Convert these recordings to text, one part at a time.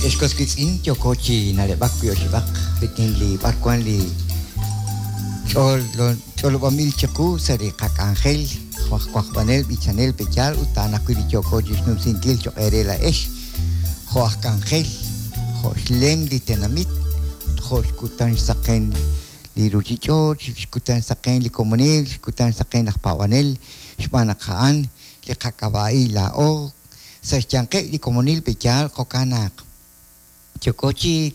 Ex was wiitz'in, yooko chi na'leb'ak wi' oxib'aq rik'in li b'arwan li ch'olob'anb'il chiqu sa' li qak'anjel jo' aj wajb'anel, b'ichanel, pe'yaal ut a'an ajwi' li yooko chixnumsinkil choq' eere laa'ex jo' aj k'anjel, jo' xlem li tenamit ut jo' xkutan xsaqen li ruchich'och', xkutan xsaqen li komonil, xkutan xsaqen laj paab'anel, xb'aan naq a'an li qak'ab'a'il laa'o sa' xyanqeb' li komonil pe'yaal jo'kan naq yooko chi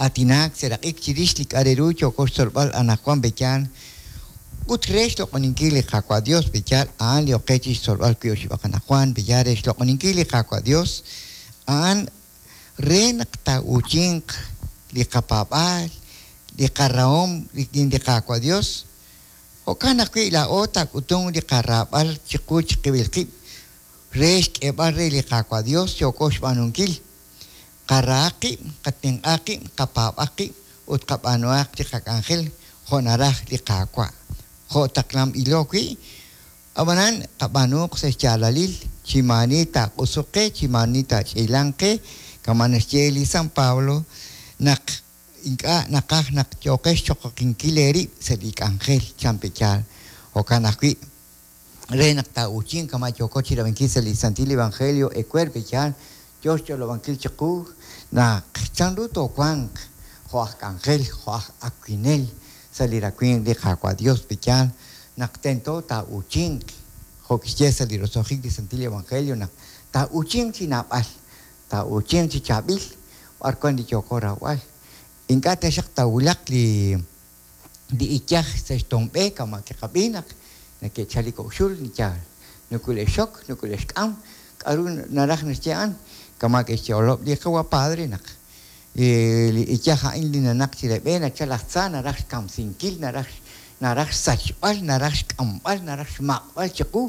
aatinak seraq'ik chirix li k'a' re ru yooko xtzolb'al anaqwan pe'yaal ut re xloq'oninkil li Qaawa' Dios pe'yaal a'an li ok qe chi xtzolb'al wi' oxib'aq anaqwan pe'yaal re xloq'oninkil li Qaawa' Dios a'an re naq taa'uuchinq li qapaab'aal li qarahom rik'in li Qaawa' Dios jo'kan ajwi' laa'o taak'utunq li qaraab'al chiqu chiqib'il qib' re xk'eeb'al re li Qaawa' Dios yooko xb'aanunkil. Qarahaq qib', qatenq'aq qib', qapaab'aq qib' ut qab'aanuhaq li qak'anjel jo' naraj li Qaawa', jo' taqlanb'ilo wi', ab'anan qab'aanuuq sa' xyaalalil, chi maani taaq'usuq qe, chi maani taach'iilanq qe, kama' naxye li San Pablo naq ink'a' naqaj naq yooqex xchoqoqinkil eerib' sa' li k'anjel, chan pe'yaal. Jo'kan ajwi', re naq taa'uuchinq kama' yooko chi rab'inkil sa' li Santil Evangelio ewer pe'yaal yo xch'olob'ankil chiqu naq chanru toowanq jo' aj k'anjel, jo' aj awinel sa' li rawimq li Qaawa' Dios pe'yaal naq tento taa'uuchinq, jo' kixye sa' li roso'jik li Santil Evangelio naq taa'uuchinq chi naab'al, taa'uuchinq chi chaab'il b'ar wan li yooko rawb'al. Ink'a' taxaq taawulaq li li iyaj sa' xtoon b'e kama' kiqab'i naq neke'chal li kok' xul li yaal nukule'xxok, nukule'xk'am, k'a'ru naraj naxye a'an, kama' ke'xch'olob' li qawa' padre naq li iyaj a'in li nanaq chire b'e nachal laj tza naraj xkamsinkil, naraj naraj xsachb'al, naraj xk'amb'al, naraj xmaq'b'al chiqu,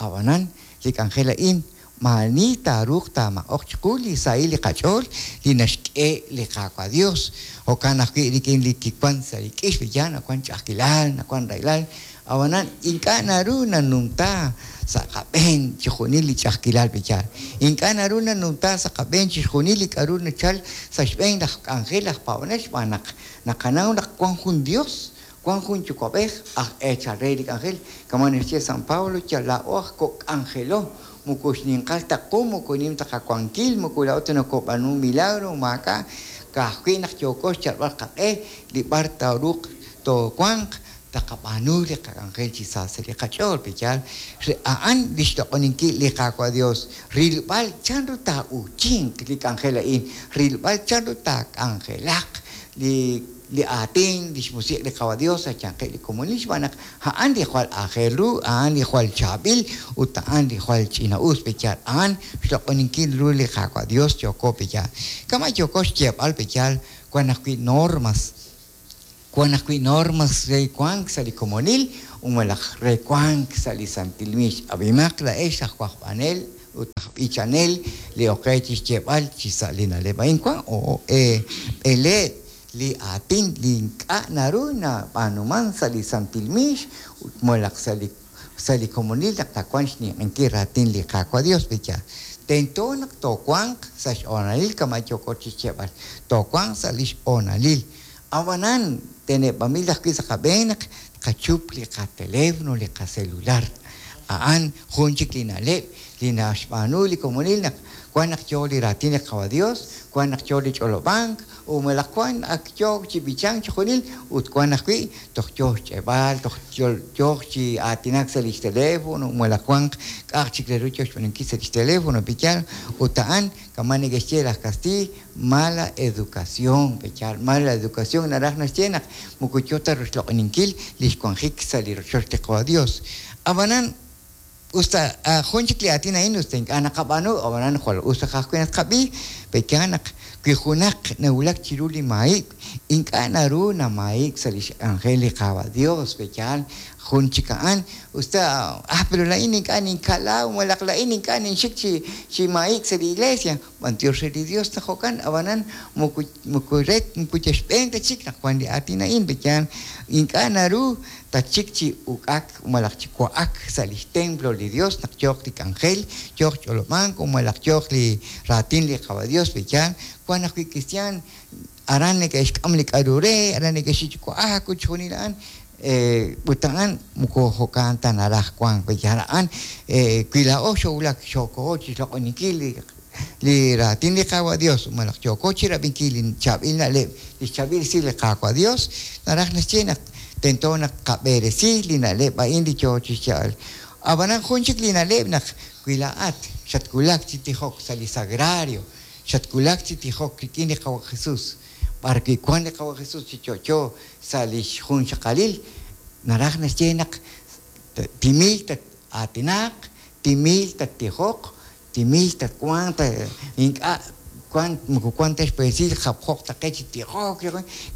ab'anan li k'anjel a'in Maa'ani taaruuq taamaq'oq chiqu li sahil li qach'ool li naxk'e li Qaawa' Dios. Jo'kan ajwi' rik'in li kiwank sa' li k'ix, yaal nawank ch'a'ajkilal, nawank rahilal, ab'anan ink'a' naru nanumta sa' qab'een chixjunil li ch'a'ajkilal pe'yaal. Ink'a' naru nanumta sa' qab'een chixjunil li k'a'ru nachal sa' xb'een laj k'anjel aj paab'anel xb'aan naq naqanaw naq wank jun Dios, wank jun Yuwa'b'ej aj eechal re li k'anjel, kama' naxye San Pablo, yal laa'o aj kok' k'anjelo, moko xninqal ta qu, moko nim ta qawankil, moko laa'o ta nokoob'aanu milagro, maak'a', ka'ajwi' naq yooko xyalb'al qaq'e li b'ar taaruuq toowanq, taqab'aanu li qak'anjel chi sa sa' li qach'ool, pe'yaal? Re a'an li xloq'oninkil li Qaawa' Dios, rilb'al chanru taa'uuchinq li k'anjel a'in, rilb'al chanru taak'anjelaq li li aatin, lix Musiq' li Qaawa' Dios sa' xyanqeb' li komonil, xb'aan naq a'an li jwal aajel ru, a'an li jwal chaab'il, ut a'an li jwal ch'ina-us pe'yaal. A'an xloq'oninkil ru li Qaawa' Dios yooko pe'yaal. Kama' yooko xyeeb'al pe'yaal, wan ajwi' normas, wan ajwi' normas re wank sa' li komonil u malaj re wank sa' li santil miix. Ab'imaq laa'ex aj wajb'anel ut aj b'ichanel li ok qe chixyeeb'al chi sa' li na'leb' a'in wan b'eleeb' li aatin li ink'a' naru nab'aanuman sa' li santil miix ut malaj sa' li sa' li komonil naq taawanq xninq'ehinkil raatin li Qaawa' Dios pe'yaal. Tento naq toowanq sa' xhoonalil kama' yooko chixyeeb'al, toowanq sa' lix hoonalil. Ab'anan, teneb'anb'il ajwi' sa' qab'een naq tqachup li qateléfono, li qaselular. A'an jun chik li na'leb' li naxb'aanu li komonil naq wan naq yoo li raatin li Qaawa' Dios, wan naq yoo li ch'olob'ank, ut malaj wan ak yook chi b'ichank chixjunil ut wan ajwi' toj yoo xch'e'b'al, toj yooq chi aatinak sa' lix teléfono, malaj wanq k'a'aq chik re ru yoo xb'aanunkil sa' lix teléfono, pe'yaal? Ut a'an kama' neke'xye laj kastiiy, mala educación, pe'yaal? Mala educación naraj naxye naq moko yoo ta roxloq'oninkil lix wanjik sa' li rochoch li Qaawa' Dios. Ab'anan, us ta jun chik li aatin a'in us ta ink'a' naqab'aanu, ab'anan jwal us raj ajwi' naq tqab'i, pe'yaal naq wi junaq nawulak chiru li maayib', ink'a' naru namaayib'k sa' li xk'anjel li Qaawa' Dios, pe'yaal jun chik a'an, us ta ah pero laa'in ink'a' ninkala malaj laa'in ink'a' ninxik chi chi maayib'k sa' li iglesia, b'antiox re li Dios naq jo'kan, ab'anan moko moko re moko yal xb'een ta chik naq wan li aatin a'in, pe'yaal ink'a' naru tatxik chi uk'ak malaj chi wa'ak sa' li xtemplo li Dios naq yooq li k'anjel, yooq ch'olob'ank malaj yooq li raatin li Qaawa' Dios, pe'yaal? Wank ajwi' kristiaan aran neke'xk'am li k'aru re, aran neke'xik chi wa'ak ut chixjunil a'an, ut a'an moko jo'kan ta naraj wank, pe'yaal a'an? Wi laa'o xoowulak xookoho chi xloq'oninkil li raatin li Qaawa' Dios malaj yooko chi rab'inkil li chaab'il na'leb', li xchaab'il esil li Qaawa' Dios, naraj naxye naq tento naq tqab'eresi li na'leb' a'in li yoo chi xyeeb'al. Ab'anan jun chik li na'leb' naq wi laa'at xatwulak chi tijok sa' li sagrario, xatwulak chi tijok rik'in li Qaawa' Jesus, b'ar wi' wank li Qaawa' Jesus chi yo'yo sa' li xjunxaqalil, naraj naxye naq timil tat-aatinaq, timil tattijoq, timil tatwanq, ink'a' wank moko wank ta xpeesil japjo'q ta qe chi tijok,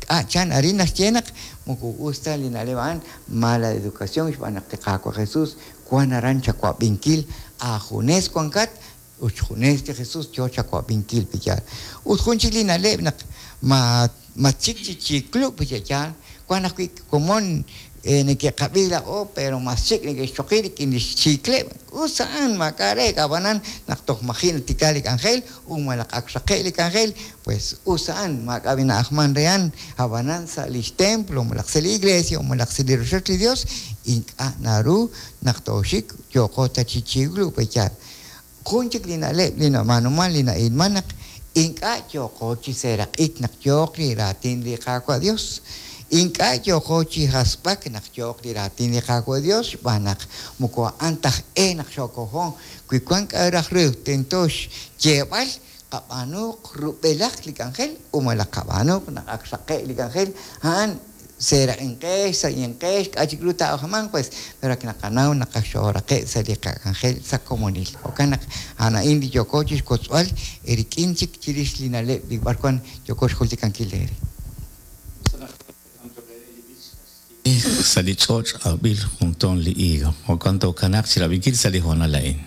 k'a' chan arin naxye naq moko us ta li na'leb' a'an, mala educación xb'aan naq li Qaawa' Jesus wank aran chawab'inkil aajunes wankat Ut xjunes li Jesús yo chawab'inkil, pe'yaal? Ut jun chik li na'leb' naq ma matxik chi chiklub', pe'yaal? Wank ajwi' komon neke'qab'i laa'o pero mas chik neke'xchoqi rik'in li xchiikleb'. Us a'an, maak'a' reek', ab'anan naq toj maji' natikla li k'anjel u malaj ak xraqe' li k'anjel, pues us a'an, maak'a' b'i na'ajman re a'an. Ab'anan sa' li xtemplo malaj sa' li iglesia malaj sa' li rochoch li Dios ink'a' naru naq tooxik yooqo ta chi chiklub', pe'yaal? Jun chik li na'leb' li nab'aanuman li na'ilman naq ink'a' yooqo chi seeraq'ik naq yooq li raatin li Qaawa' Dios. Ink'a' yooqo chi hasb'ak naq yooq li raatin li Qaawa' Dios xb'aan naq moko a'an ta aj-e naq xookoho. Wi wan k'a'ru raj ru tento xyeeb'al, qab'aanuuq rub'elaq li k'anjel u malaj qab'aanuuq naq ak xraqe' li k'anjel, a'an seeraq'inqex, sa'inqex, k'a' chik ru taa'ajmanq pues, pero ak naqanaw naq ak xooraqe' sa' li qak'anjel sa' komonil. Jo'kan naq a'an a'in li yooko chixwotzb'al eerik'in chik chirix li na'leb' li b'arwan yooko xjultikankil eere. Sa' li ch'och' awb'il jun toon li higo. Jo'kan tookanaaq chi rab'inkil sa' li hoonal a'in.